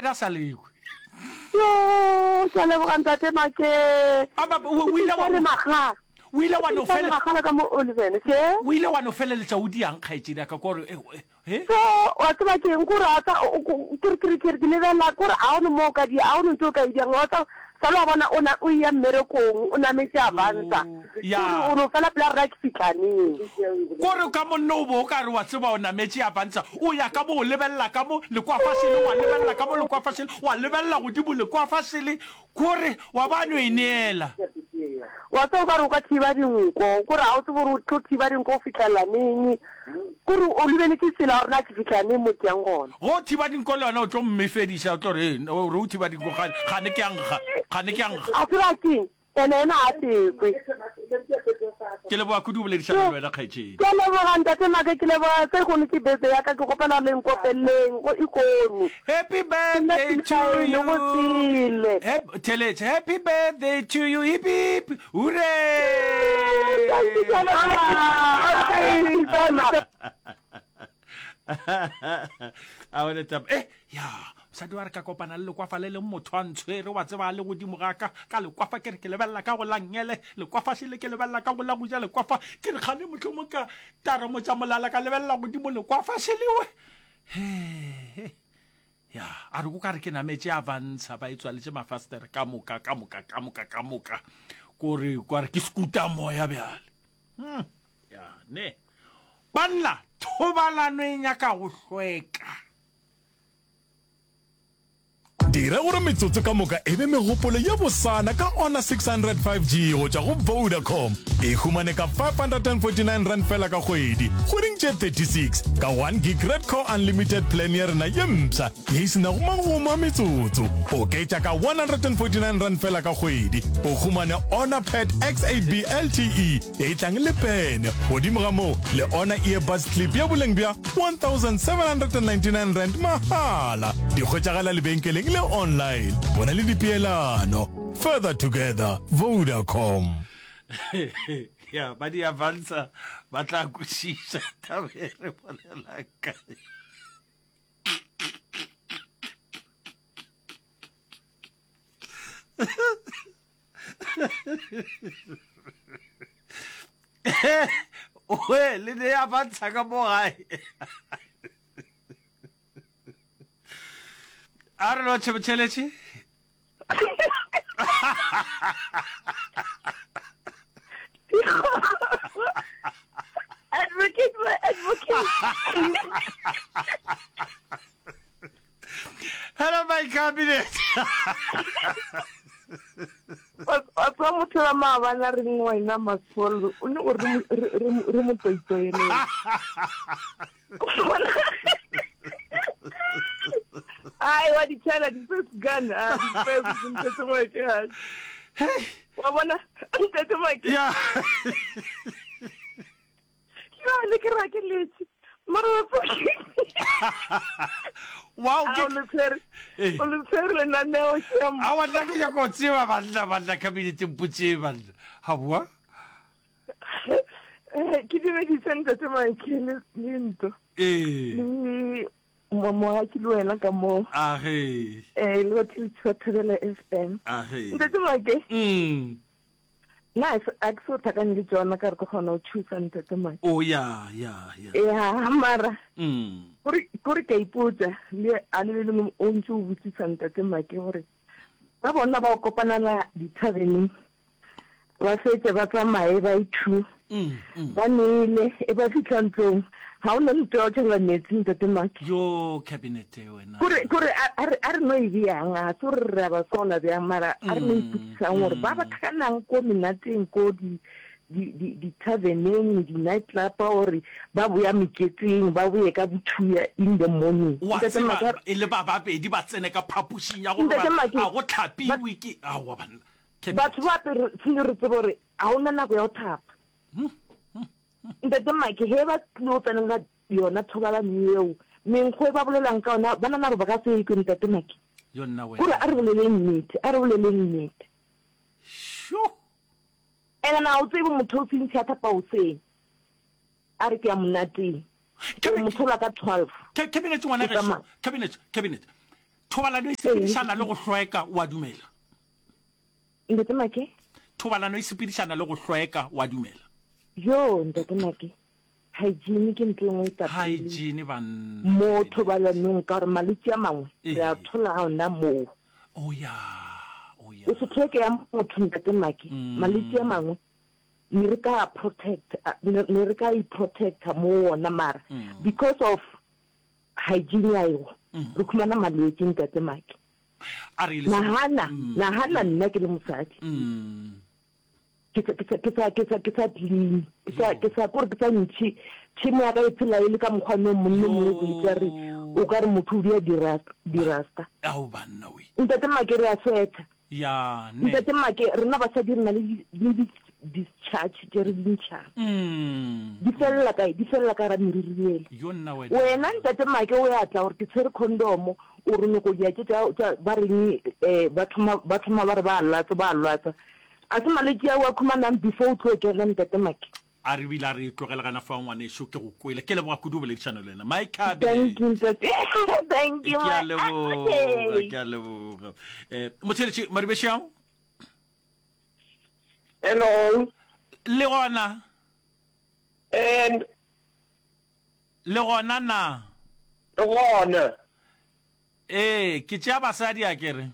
a sa lekwe. Yo, ke a leboga ntate Make. A ba o o ile wa le magala. O ile wa no fele. Magala ka mo Oliven, ke? O ile wa no feleletša o diang kgaetšedi ya ka kore eh, he? So, wa tseba ke eng kore a tsa ke re ke re ke re ke lebelela kore a ono mo ka di a ono ntse o ka e diang wa tsa sa lo bona o na o ya mmerekong o nametše avansa. Ya. Kore o no fela pela rena ke fihla neng. Kore ka monna o bo o ka re wa tseba o nametše avansa o ya ka mo o lebelela ka mo lekwafa šele wa lebelela ka mo lekwafa šele wa lebelela godimo lekwafa šele kore wa ba no e neela. Wa tseba o ka re o ka thiba dinko kore ga o tsebe gore o tlo thiba dinko go fihlela neng kore o lebeletše tsela gore na ke fihla neng mo ke yang gona. Ge o thiba dinko le yona o tlo mmefediša o tlo re o re o thiba dinko gane ke a nkga gane ke a nkga. A tseba keng Ene ena a tekwe. Ke leboga kudu go boledišana le wena kgaetšedi. Ke a leboga ntate Make ke leboga se kgono ke birthday ya ka ke kgopela le nkopeleng go ikono. Happy birthday to you. Go sele. Theletše happy birthday to you hip hip hooray. Thank you a bone taba eh ya mosadi wa re ka kopana le lekwafa le leng motho a ntshwere wa tseba a le godimo ga ka ka lekwafa ke re ke lebelela ka go la ngele lekwafa šele ke lebelela ka go la go ja lekwafa ke re kgane mohlomong ka taromotša molala ka lebelela godimo lekwafa šelewe he ya a re ko ka re ke nametše avantsha ba e tswaletše mafastere ka moka ka moka ka moka ka moka kore kwa re ke sekuta moya bjale hmm. ya ne Banna, thobalano e nyaka go hlweka. Dira gore metsotso ka moka e be megopolo ye bosana ka Honor 600 5G go tšwa go Vodacom. E humane ka R549 fela ka kgwedi, kgweding tše 36, ka 1 gig Red Core Unlimited plan ya rena ye mpsha ye e se nago magomo a metsotso. Oketša ka R149 fela ka kgwedi, o humane Honor Pad X8B LTE E tlang le pene. Godimo ga moo, le ona earbuds clip ya boleng bja R1799 mahala. Di hwetšagala lebenkeleng le online. Bona le dipeelano. Further together, Vodacom. Ya, ba di avansa ba tla kwešiša taba e re bolelang ka we le ne ya bantsha ka mo gae a re lotšhe botšheletše Advocate, advocate. Hello my cabinet. Wa tseba motho wa maabane a reng wena Masolo o ne gore re mo toitoelele. Ai wa di tshela di first gun ah di first ntate Mike wa bona ntate Mike yeah Jale ke ra ke letše. Mara wa Wow, ke o le tshwere. Eh. O le tshwere lenaneo shem. A wa nna ke nyaka go tseba banna banna cabinet mpotse banna. Ha bua? Eh, ke dumedise ntate Mike le le ntlo. Eh. Le moagi le wena ka moo. Age. Eh, le batho ba Thobela FM. Age. Ntate Mike. Mm. Nna a ke so tlhakane le tšona ka re ke kgona go thusa ntate Mike. Oh ya ya ya. Ya mara. Mm. Kore kore ke ipotsa le a le lengwe o ntse o botsisa ntate Mike gore ba bona ba o kopanela dithaveneng ba fetse ba tsamaye ba ithu mm, mm. ba nele e ba fitlha ntlong ga o na ntho ya go tšhela metsi ntate Mike. Yo cabinet wena. Kore kore a re a re no e bjang a se gore re a ba sola bjang mara a re no ipotsisang gore ba ba tlhakanang ko menateng ko di di di di taverneng di night club gore ba boya meketeng ba boye ka bothuya in the morning. Wa Ntate tseba Make e le ba babedi ba tsene ka phapošing ya go Ntate robala Make a go ba tlhapiwe ke aowa banna cabinet. batho ba apere tshwanetse re tsebe gore ga o na nako ya go thapa. Ntate Mike ge ba tlilo tsenela yona thobalano yeo, menkgo e ba bolelang ka yona, ba nana gore ba ka se e kwe Ntate Mike. Yo nna Kore wena. a re boleleng nnete, a re boleleng nnete. Sho! Ene na o tsebe motho o sentšhi a thapa hoseng, a re ke ya monateng, o mo thola ka 12. Cabinet ngwana O gešo, tsamaya. cabinet, cabinet. Thobalano e sepedišana le go hlweka, o a dumela? Ntate Make? Thobalano e sepedišana le go hlweka, o a dumela? Joo, Ntate Make, hygiene ke ntho e nngwe e ka pele. Hygiene, banna. Mo thobalanong, ka gore malwetši a mangwe re a thola gona moo. Oh ya, oh ya. O se hlweke ya motho, Ntate Make, malwetši a mangwe ne re ka protect, ne re ka i-protecta mo wona mara because of hygiene ya ego re khumana malwetši, Ntate Make. A re ile Nagana, nagana nna ke le mosadi. Ke sa, ke sa, ke sa, ke sa, ke sa clean. Ke sa, ke sa, kore ke sa ntšhe. Tšhemo ya ka e phela e le ka mokgwa no monna mongwe go itse re o ka re motho o dia dirasta. Ao banna we. Ntate Make re a sweatha. Ya ne. Ntate Make rena basadi re na le le di discharge tše re di ntšhang. Di felela kae? Di felela ka gara meriri yela. Yo nna wena. Wena ntate Make o ya tla gore ke tshwere condom o re nyoko dia tše tša ba reng eh ba thoma ba thoma ba re ba lwatsa ba lwatsa. A se malwetši ao a khumanang before o tlo kena ntate Make. A re bile a re tlogele gana fao ngwanešu ke go kwele. Ke leboga kudu boledišano le wena. My Cabe. Thank you ntate. Thank you. Ke a leboga, ke a leboga. Eh motheletši Maribeshiao. Hello. Le gona? And Le gona na? Le gona. Ee, ke tšea basadi a ke re.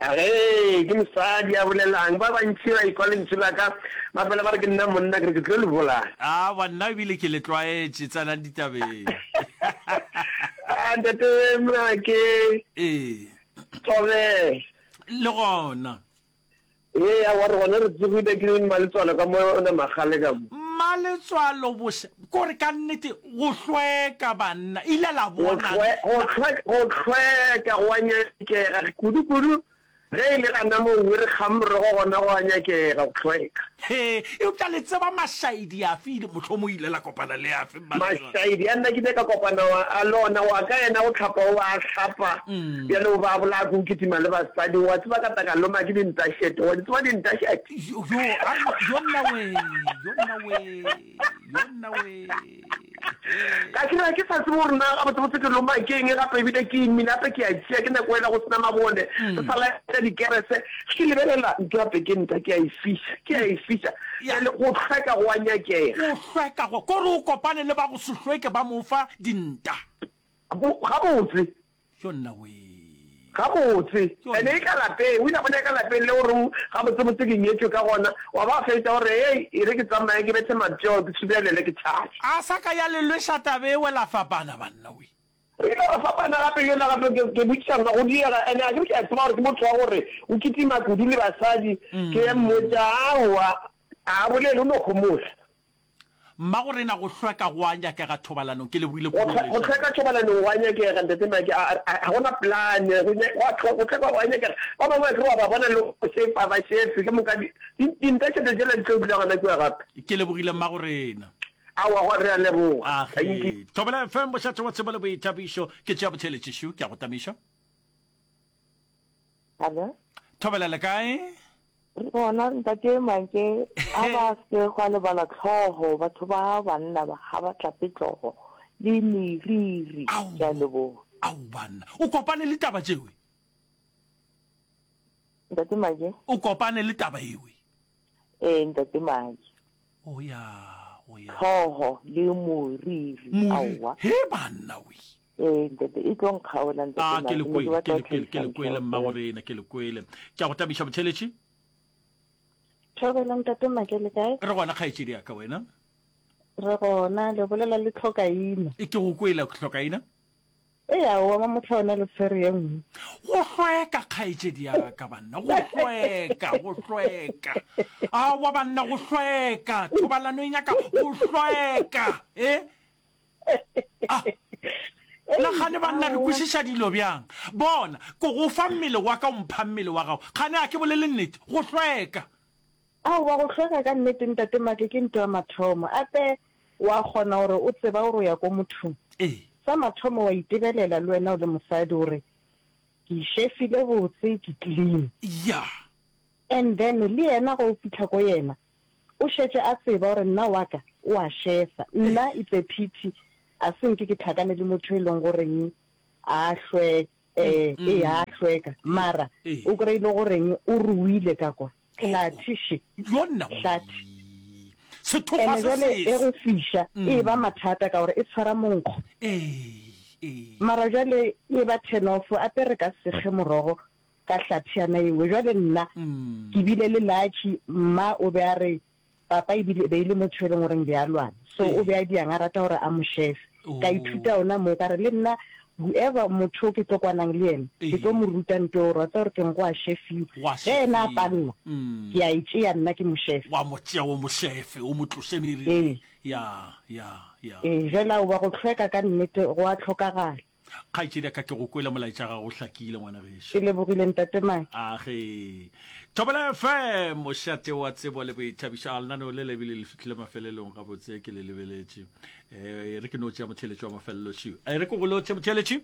Ge ke mosadi a bolelang, ba bantši ba ikwa lentswe la ka, ba fela ba re ke nna monna, ke re ke tlo le bolaya. Aowa, nna ebile ke le tlwaetše, tsenang ditabeng. Ah, ntate Mrake. Ee. Thobela. Le gona. Ee, aowa re gona re tsogile ke Mmaletswalo ka mo ona magale ka mo. Mmaletswalo bose, kore ka nnete go hlweka banna, ile la bona. Go hlweka go a nyakega, kudu-kudu ge e le gana moo re kgang morogo gona go a nyakega go hlweka. He, eupša le tseba mašaedi afe, mohlomong ile la kopana le afe? Mašaedi a nna ke ile ka kopana a le ona, wa ka yena go hlapa o a hlapa, bjale o ba bolaya ke go kitima le basadi, wa tseba ka tla ka loma ke dintašete, wa di tseba dintašete? Yo, yo nna we, yo nna we, yo nna we. Ka ke re ke sa tsebe gore na gabotsebotse ke loma ke eng gape ebile ke imile gape ke a tšea ke nako ela go sena mabone re sa laetša dikerese ke lebelela ntho gape ke nta ke a e fiša ke a e fiša bjale go hlweka go a nyakega. Go hlweka go kore o kopane le ba go se hlweke ba mo fa dinta. Gabotse. Yo nna wee. Gabotse. Ene e ka lapeng, o ile a bona e ka lapeng le gore gabotsebotse ke nyetšwe ka gona, wa ba fetša gore hei, e re ke tsamaye ke bethe matšeo, ke thubelele ke tšhabe. A sa ka ya le lweša taba ewe la fapana banna wee. Re ile ra fapana gape yola gape ke, ke botšiša nna go diega, ene a ke re ke a tseba gore ke motho wa gore o kitima kudu le basadi, ke mmotša aowa, a bolele o no homola. Mmagorena go hlweka go a nyakega thobalanong. Ke lebogile kudu go Go hlweka thobalanong go a nyakega ntate Mike, a, a, ga gona plan, go, go hlweka go a nyakega. Ba bangwe akere wa ba bona le go šefa, ba šefe, ke moka di, di, dintašete tšela di tlo dula gona kua gape. Ke lebogile mmagorena. Aowa, go, re a leboga. Thank you. Age. Thobela FM, bošate wa tsebo le boithabišo. Ke tšea botheeletši šu, ke a go tamiša. Hello. Thobela le kae? Re gona ntate Make a ba se gwa lebala tlhogo batho ba banna ba ga ba tlape tlogo le meriri ke a leboga. Ao banna o kopane le taba tšewe? Ntate Make. O kopane le taba ewe? Ee ntate Make. O ya, o ya. Tlhogo le moriri aowa. He banna we. Ee, ntate, e tlo nkgaola, ntate A, ke Mike. le Ne ke kwele, batla ke go le kwele, ke tlhagisa le kwele, ntlha mmago fela. rena, ke le kwele. Ke a go tabiša, Botheletši. Thobela ntate Make le kae? Re gona, kgaetšedi ya ka, wena? Re gona, le bolela le Tlhokaina. E, ke go kwele, Tlhokaina. Ee, aowa, Mamohla wena le tshwere ye nngwe. Go hlweka, kgaetšedi ya ka, banna, go hlweka, go hlweka. Aowa, banna, go hlweka. Thobalano e nyaka go hlweka, e? Ah, na kgane banna re kwešiša dilo bjang? Bona, ko go fa mmele wa ka, o mpha mmele wa gago. Kgane a ke bolele nnete? Go hlweka. Aowa, go hlweka ka nnete, Ntate Make, ke nto ya mathomo. Ape wa kgona gore o tseba gore o ya ko mothong. Ee. Sa mathomo wa itebelela le wena o le mosadi gore ke išefile botse, ke clean. Ya. And then le yena ge o fihla ko yena, O šetše a tseba gore nna wa ka o a šefa. Nna it's a pity a se nke ke hlakane le motho e leng goreng a hlwe. Eh, ee, a hlweka. Mara, o kry-e le goreng o ruile ka kwa. Hlathe še. Hlathe. Sethokgwa Ene se jwale e sese. go fiša, e ba mathata ka gore e tshwara monkgo. Ee, ee. Mara jwale e ba turn off, ape re ka se kge morogo ka hlathiana e nngwe. Jwale nna ke bile le lucky, mma o be a re Papa ebile e be e le motho e leng goreng be a lwana, so o be a diang a rata gore a mo shefe. Ka ithuta ona moo, ka re le nna whoever motho o ke tlo kwanang le yena, ke tlo mo ruta nto eo gore wa tseba gore keng go a shefiwa. Ge yena a palelwa, ke a e tšea nna ke mo shefe. Wa mo tšea o mo shefe, o mo tloše meriring. Ee. Ya, ya, ya. Ee, jwale aowa go hlweka ka nnete go a hlokagala. Kgaetšedi ya ka, ke go kwele molaetša gago o hlakile, ngwana gešo. Ke lebogile, Ntate Maki. Age. Thobela FM, mošate wa tsebo le boithabišo. A lenaneo le le bile le fihlile mafelelong gabotse, ke le lebeletše. Eh, e re ke no tšea motheeletši wa mafelelo šiu. E re ke go lotšhe motheeletši.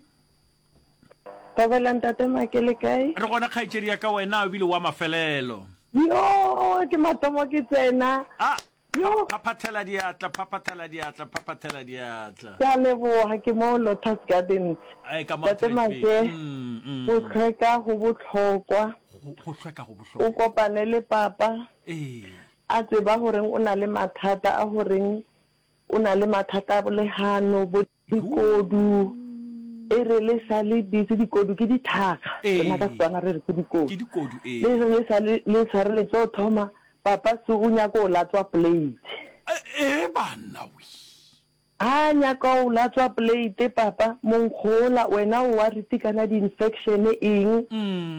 Thobela Ntate Maki, le kae? Re gona kgaetšedi ya ka, wena o bile wa mafelelo. Yoo, ke mathomo ke tsena. Ah, Yo! Phaphathela diatla, phaphathela diatla, phaphathela diatla. Ke a leboga, ke mo Lotus Gardens. Ae, ka mo Tate Atlantic. Make, Mm, mm. go hlweka go bohlokwa. Go, go hlweka go bohlokwa. O kopane le papa, Ee. a tseba goreng o na le mathata a goreng o na le mathata a bolegano, bo Dikodu, e re le sa le busy, dikodu ke dithakga, rena ka Setswana re re ke dikodu. Ke dikodu, ee. Le re le sa le, le sa re le tlo thoma, papa se o nyaka o latswa plate. Ee banna we. Ha nyaka o latswa plate papa, monkgo ola wena o worried kana di-infection eng,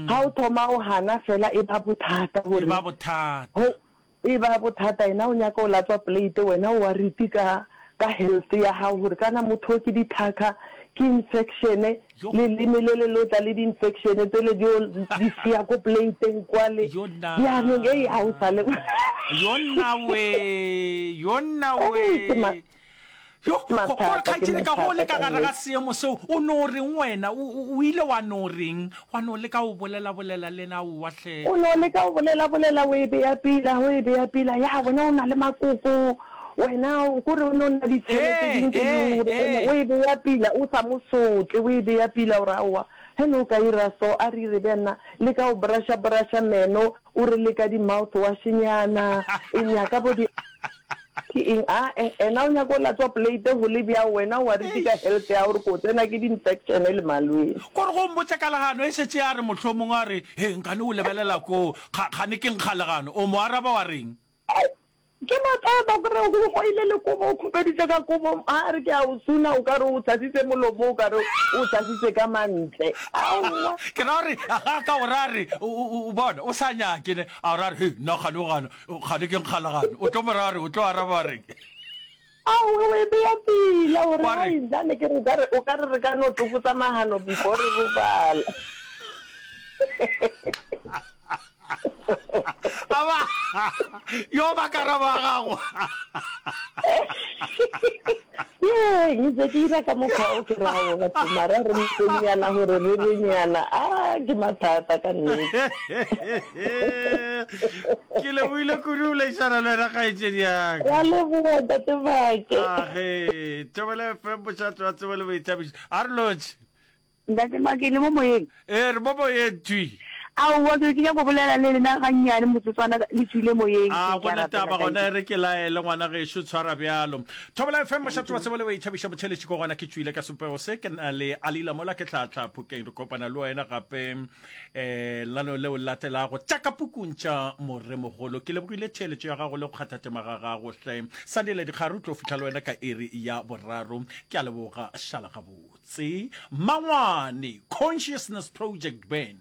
ha o thoma o hana fela e ba bothata gore. E ba bothata. E ba bothata yena o nyaka o latswa plate wena o worried ka ka health ya gago gore kana motho o ke dithakha ke infection leleme le le lo tla le di infection tsele di o di siya ko plateng kwale jaanong ei ha o sale Yo nna we, yo nna we. Yo, Mathata, gore ke kgaetšedi ka go le mathata ka ka gare ga nnete. seemo seo, o no reng wena? O, o, o ile wa no reng? Wa no leka go bolela-bolela le yena? Aowa hle. O no leka go bolela-bolela, o e bea pila, o e bea pila, ya wena o na le makoko, wena o kore o no nna ditshele tse Ee, dingwe tse ee, dingwe, gore ee. o e bea pila, o sa mo sotle, o e bea pila gore aowa, ge ne o ka ira so, a re ire bjana, leka go brusha-brusha meno, o re leka di-mouthwash-nyana, e nyaka bo di. Ke eng? A-e, ena o nyaka o latswa plate go le bjao, wena o worried ka health ya gore ko tsena ke di-infection le malwetši. Kore go mpotša ka legano e šetše ya re mohlomong a re, He, nkane o lebelela koo, kga, kgane ke nkga legano. O mo araba wa reng? Ai, ke mathata, o kry-e o goile le kobo, o khupeditše ka kobo, a re ke a o suna, o ka re o tshasitse molomo, o ka re o tshasitse ka mantle. Aowa. Ke ra gore ga a ka o ra re, o, o, o bona, o sa nyake ne, a o ra re, He, nna kgane o gana, Kgane ke nkgalagane. O tlo mo ra re, o tlo araba wa reng? Aowe, o e beya pila gore Wa reng? hai nna ke re o ka re o ka re re ka no tsokotsa magano before re robala. Aba, yo ba karabo ya gago. Ye, ntse ke ira ka mokgwa o ke rago batho mara re mpenyana gore re re nyana a ke mathata ka nnete. Ke lebohile kudu o leišana le wena kgaetšedi yaka. Ra leboga ntate Make. Age, Thobela FM mošate wa tsebo le boithabišo. A re lotšhe. Ntate Make, le mo moyeng? Ee, re mo moyeng thwi. Aowa, ke be ke nyaka go bolela le lena gannyane motsotswana, le tšwile moyeng. A Ke go a na rapela, taba thank gona, you. e re ke laele ngwana gešo, tshwara bjalo. Thobela FM, mošate wa tsebo le boithabišo, motheeletši ko gona ke tšwile ka sopego se, ke na le Alila mola ke tlhatla Phokeng, re kopana le wena gape um lenaneo leo le latelago tša ka pukung tša Moremogolo. Ke lebogile theeletšo ya gago le go kgatha tema ga gago hle. Sandile Dikgare o tlo fihla le wena ka iri ya boraro. Ke a leboga, šala gabotse. Mangwane Consciousness Project Band.